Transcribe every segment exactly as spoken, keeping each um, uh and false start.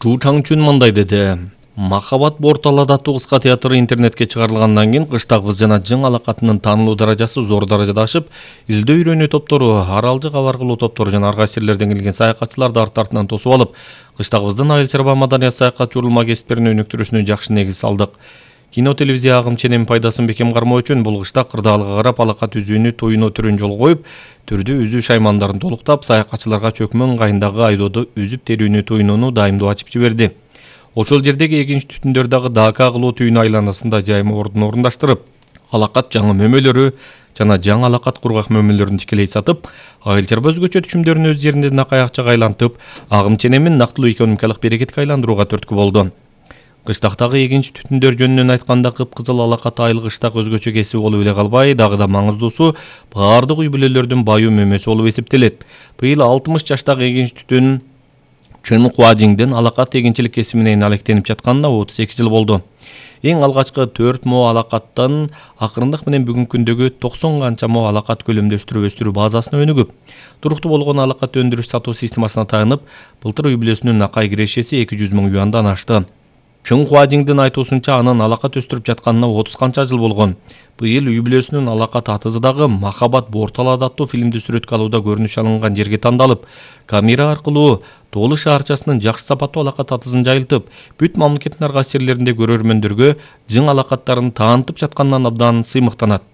Чу Чаңчун мындай деди. Махабат борталада кыска театры интернетке чыгарылгандан кийин кыштагыбыз жана жың алакатынын таанылуу даражасы зор даражада ашып, издөө үйрөнүү топтору, аралжы кабар кылуу топтору жана ар кайсы жерлерден келген саякатчыларды арт артынан тосуп алып, кыштагыбыздын айыл чарба маданият саякат журулма кесиптерин өнүктүрүүсүнө жакшы негиз салдык. Кино телевизия агым ченем пайдасын бекем кармоо үчүн бул кышта кырдаалга карап алакат үзүүнү туюно түрүн жол коюп, түрдүү үзүү шаймандарын толуктап, саякатчыларга чөкмө ыңгайындагы айдоодо үзүп терүүнү туюнууну дайымдоо ачып жиберди. Ошол жердеги экинчи түтүндөр дагы дака кылуу түйүнү айланасында жайма ордун орундаштырып, алакат жаңы мөмөлөрү жана жаңы алакат кургак мөмөлөрүн тикелей сатып, айыл чарба өзгөчө түшүмдөрүн өз жеринде накай акчага айлантып, агым ченемин нактылуу экономикалык берекетке айландырууга түрткү болду. Кыштактагы экинчи түтүндөр жөнүнөн айтканда кыпкызыл алакат айыл кыштак өзгөчө кесип болуп эле калбай, дагы да маңыздуусу баардык үй бүлөлөрдүн баюу мөмөсү болуп эсептелет. Быйыл алтымыш жаштагы экинчи түтүн Чын Хуажиңдин алакат эгинчилик кесибинен алектенип жатканына отуз эки жыл болду. Эң алгачкы төрт мо алакаттан акырындык менен бүгүнкү күндөгү токсон канча мо алакат көлөмдө өстүрүп өстүрүү базасына өнүгүп, туруктуу болгон алакат өндүрүш сатуу системасына таянып, былтыр үй бүлөсүнүн акай кирешеси эки жүз миң юандан ашты. Чын Хуажиңдин айтуусунча, анын алакат өстүрүп жатканына отуз канча жыл болгон. Быйыл үй бүлөсүнүн алакат атызы дагы Махабат борталада аттуу фильмди сүрөткө алууда көрүнүш алынган жерге тандалып, камера аркылуу Тоолу шаарчасынын жакшы сапаттуу алакат атызын жайылтып, бүт мамлекеттин ар кайсы жерлеринде көрөрмөндөргө жың алакаттарын таанытып жатканынан абдан сыймыктанат.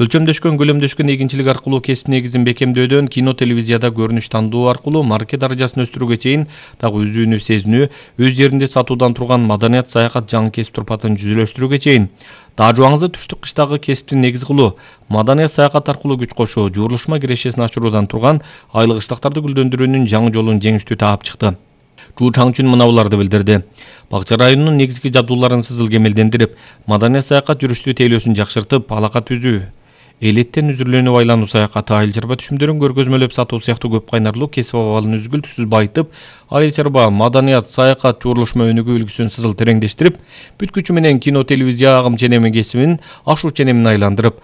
Өлчөмдөшкөн, көлөмдөшкөн эгинчилик аркылуу кесип негизин бекемдөөдөн кино телевизияда көрүнүш тандоо аркылуу марке даражасын өстүрүүгө чейин дагы үзүүнү сезинүү, өз жеринде сатуудан турган маданият саякат жаңы кесип турпатын жүзүлөштүрүүгө чейин таажубаңызды түштүк кыштагы кесиптин негизи кылуу, маданият саякат аркылуу күч кошуу, журулушма кирешесин ачыруудан турган айыл кыштактарды гүлдөндүрүүнүн жаңы жолун жеңиштүү таап чыкты. Чу Чаңчун мына буларды билдирди. Бакча районунун негизги жабдууларын сызыл кемелдендирип, маданият саякат жүрүштүү тейлөөсүн жакшыртып, алакат үзүү, элеттен үзүрлөнүп айлануу саякаты, айыл чарба түшүмдөрүн көргөзмөлөп сатуу сыяктуу көп кайнарлуу кесип абалын үзгүлтүксүз байытып, айыл чарба маданият саякат журулушма өнүгүү үлгүсүн сызыл тереңдештирип, бүт күчү менен кино телевизия агым ченеми кесибин, ашуу ченемин айландырып,